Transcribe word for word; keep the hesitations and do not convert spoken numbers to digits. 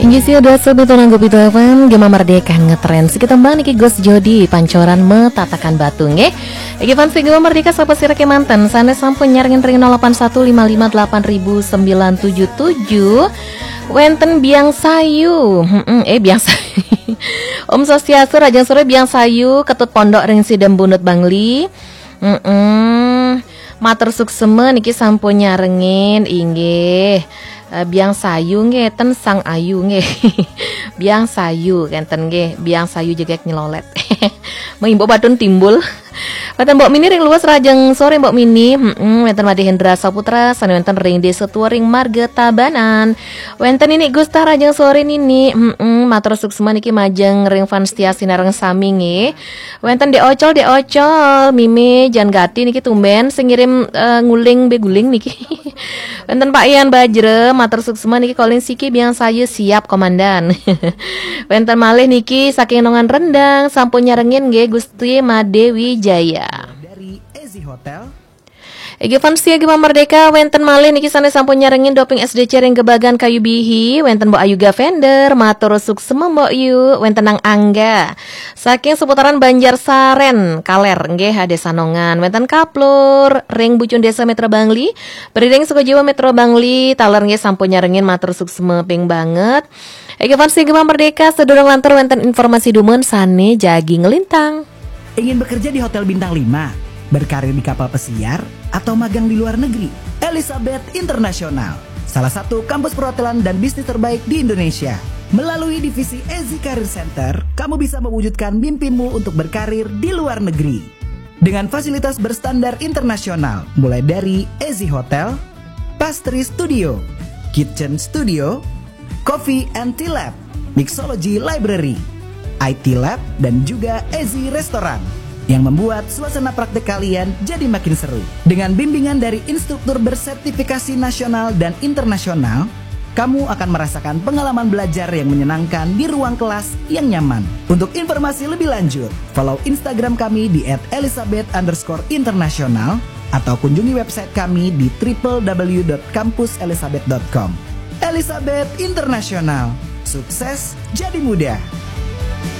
Inggih sia, dua satu nanggo pitu F M, Gema Merdeka ngetren. Sekitar mbak niki Gus Jodi, Pancoran Metatakan Batu, nggih. Iki fans Gema Merdeka, sapa sira kemanten? Sane sampun nyarengin ring nol delapan satu lima lima delapan ribu sembilan tujuh tujuh. Wenten Biang Sayu. Mm-mm, eh, Biang Sayu. Om Swastiastu, Rajang Sore Biang Sayu, Ketut Pondok ring Sidembunut Bangli. Mm-mm. Matur suksema niki sampun nyarengin, inggih. Eh, Biang Sayu nggih, ten Sang Ayu nggih. Biang Sayu kenten nggih, Biang Sayu jegek nyelolet. Mengimbau batun timbul. Wenten Mbok Mini ring Luwes, Rajeng Sore Mbok Mini. Mm-mm, wenten Made Hendra Saputra, sane wenten ring Desa Tua ring Marga Tabanan. Wenten Nini Gusta, Rajeng Sore Nini. Mm-mm, matur suksema niki majeng ring fans setia sinareng sami nggih. Wenten Dek Ocol, Dek Ocol, Mimi, Jan Gati niki tumben sing ngirim, eh, nguling beguling niki. Wenten Pak Ian Bajra, matur suksema niki, Kolin Siki Biang Sayu, siap Komandan. Wenten malih niki saking Nongan Rendang, sampun nyarengin nggih Gusti Made Wijaya. Dari Ezi Hotel. Egi fans setia Gema Merdeka, wenten malih niki sane sampun nyarengin doping S D C ring Gebagan Kayu Bihi, wenten Mbok Ayu Gavender, matur suksema Mbok Yu, wenten Nang Angga. Saking seputaran Banjar Saren, Kaler, nggih, Desa Nongan, wenten Kaplur, ring Bucun Desa Metro Bangli, Beriring Sukojiwa Metro Bangli, taler nggih sampun nyarengin, matur suksema ping banget. Egi fans Gema Merdeka, sedurung lantur wenten informasi dumun sane jagi ngelintang. Ingin bekerja di hotel bintang lima, berkarir di kapal pesiar, atau magang di luar negeri? Elizabeth International, salah satu kampus perhotelan dan bisnis terbaik di Indonesia. Melalui divisi Ezi Career Center, kamu bisa mewujudkan mimpimu untuk berkarir di luar negeri. Dengan fasilitas berstandar internasional, mulai dari Ezi Hotel, Pastry Studio, Kitchen Studio, Coffee and Tea Lab, Mixology Library, I T Lab, dan juga Ezi Restoran yang membuat suasana praktek kalian jadi makin seru. Dengan bimbingan dari instruktur bersertifikasi nasional dan internasional, kamu akan merasakan pengalaman belajar yang menyenangkan di ruang kelas yang nyaman. Untuk informasi lebih lanjut, follow Instagram kami di at elizabeth underscore international atau kunjungi website kami di triple w dot kampus elizabeth dot com. Elizabeth International, sukses jadi mudah.